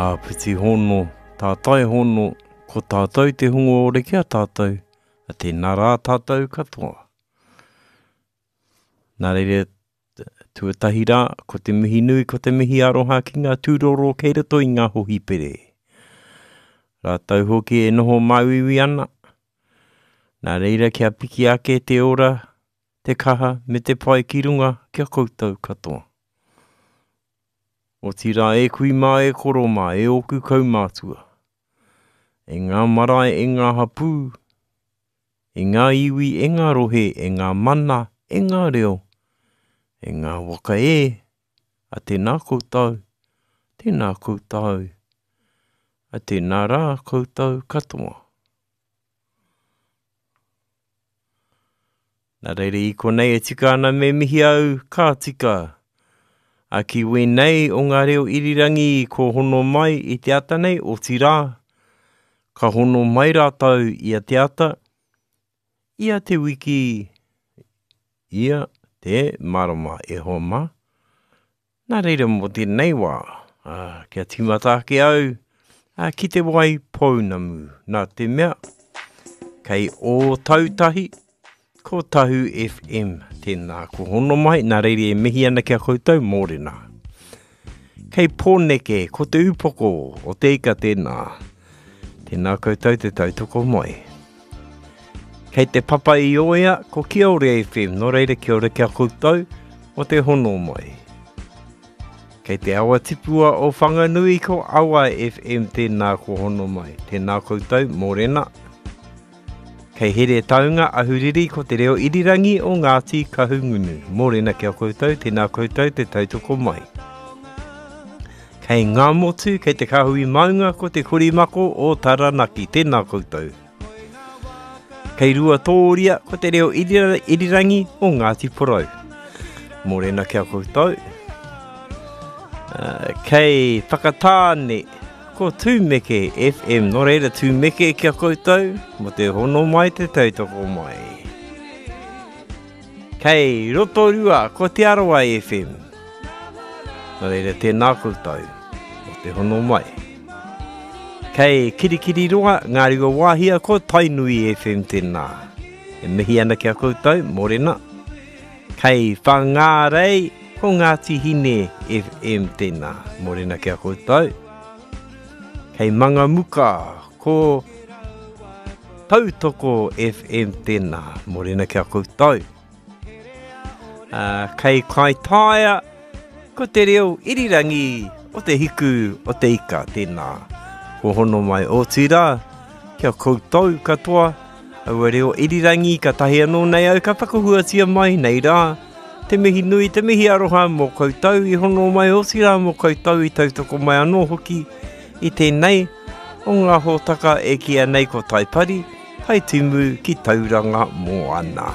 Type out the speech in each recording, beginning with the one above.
Āpiti hono, tātai hono, ko tātou te hunga ore ki a tātou, a tēnā rā tātou katoa. Nā reira, tuatahi rā, ko te mihi nui, ko te mihi aroha ki ngā tūroro kei roto i ngā hohipere. Rātou hoki e noho māuiui ana. Nā reira kia piki ake te ora, te kaha me te pai ki runga ki a koutou katoa. Otirā e kui mā e koro mā e ōku kaumātua. E ngā marae e ngā hapū, e ngā iwi e ngā rohe e ngā mana e ngā reo, e ngā waka e, a tēnā koutou, tēnā koutou, a tēnā rā koutou katoa. Nā reira i konei e tika ana me mihi au, ka tika. A ki wēnei o ngā reo irirangi ko hono mai i te ata nei, otirā, ka hono mai rātou i a te ata, i a te wiki, ia te marama e hoa mā. Nā reira mō tēnei wā, ā, kia tīmata ake au ā, ki te wai pounamu. Nā te mea, kei Ōtautahi, ko Tahu FM tēnā ko hono mai, nā reira e mihi ana ki a koutou, mōrena. Kei Pōneke, ko te upoko o te ika tēnā. Tēnā koutou te tautoko mai. Kei te papa i oea, ko Kiore FM, nō reira kia ora ki a koutou o te hono mai. Kei te awa tipua o Whanganui ko Awa FM tēnā ko hono mai. Tēnā koutou, mōrena. Kei Heretaunga, Ahuriri ko te reo irirangi o Ngāti Kahungunu. Mōrena ki a koutou, tēnā koutou te tautoko mai. Kei Ngāmotu, kei te Kāhui Maunga ko te Korimako o Taranaki. Tēnā koutou. Kei Ruatōria, ko te reo irirangi o Ngāti Porou. Mōrena ki a koutou. Uh, kei Whakatāne, ko Tūmeke FM. Nō reira, Tūmeke ki a koutou, mo te hono mai, te tautoko mai. Kei Rotorua, ko Te Arawa FM. Nō reira, tēnā koutou, mo te hono mai. Kei Kirikiriroa, Ngāruawāhia, ko Tainui FM tēnā. E mihi ana ki a koutou, mōrena. Kei Whangārei, ko Ngāti Hine FM tēnā. Mōrena ki a koutou. Kei Mangamuka, ko Tautoko FM tēnā. Mōrena ki a koutou. Uh, kei Kaitaia, ko te reo irirangi o te hiku o te ika, tēnā. Ko hono mai otirā, kia koutou katoa, aua reo irirangi ka tahi anō nei au ka whakahuatia mai nei rā. Te mihi nui, te mihi aroha mō koutou i hono mai otirā mō koutou i tautoko mai anō hoki i tēnei o ngā hōtaka e kīia nei ko Taipari, Taitimu ki Tauranga Moana.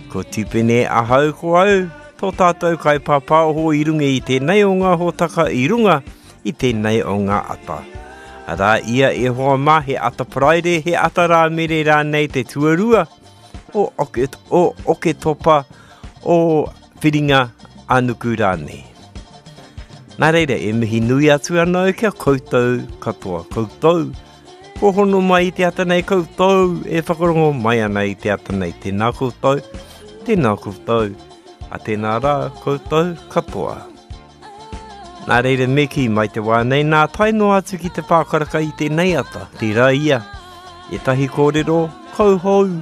Ko Tipene ahau ko au, tō tātou kaipāpāoho i runga i tēnei o ngā hōtaka i runga i tēnei o ngā ata. Arā ia e hoa mā he ata Paraire, he ata Rāmere rānei te tuarua o, oke, o Oketopa, o Whiringa a Nuku rānei. Nā reira, e mihi nui atu ana au ki a koutou katoa, koutou Kua hono mai i te ata nei koutou e whakarongo mai ana i te ata nei. Tēnā koutou, tēnā koutou, a tēnā rā koutou katoa. Nā reira me kī mai te wā nei nā tae noa atu ki te pākaraka i tēnei ata. Tērā ia, ētahi kōrero kauhou,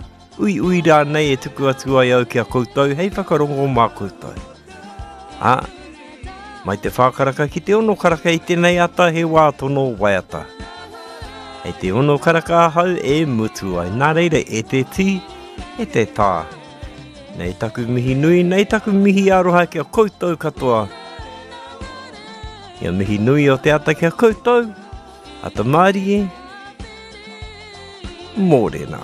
uiui rānei e tuku atu ai au ki a koutou hei whakarongo mā koutou. Ā, mai te whā karaka ki te ono karaka i tēnei ata he wā tono waiata. Hei te ono karaka ahau e mutu ai. Nā reira e te tī, e te tā. Nei taku mihi nui, nei taku mihi aroha ki a koutou katoa. Ia mihi nui o te ata ki a koutou, ata mārie, mōrena.